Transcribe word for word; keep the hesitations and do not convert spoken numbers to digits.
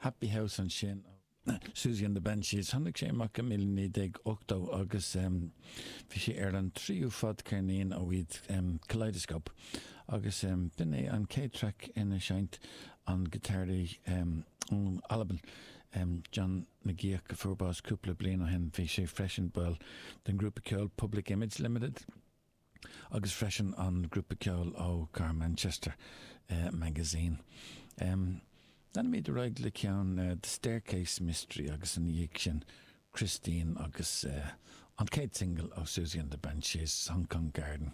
Happy House ansin Siouxsie and the Banshees tháinig sé amach i míle naoi déag ochtó agus bhí sé ar an tríú fadcheirnín ó iad Kaleidoscope agus b'in é an chéad traic ina seinnt an giotáraí ón Albain John McGeoch a fuair bás cúpla bliain ó shin bhí sé freisin ball den grúpa ceoil Public Image Limited agus freisin an grúpa ceoil ó chathair Manchester uh, Magazine. Um, Leanfaimid ar aghaidh le ceann uh, The Staircase Mystery agus ina dhiaidh sin Christine agus uh, an chéad single ó Siouxsie and the Banshees Hong Kong Garden.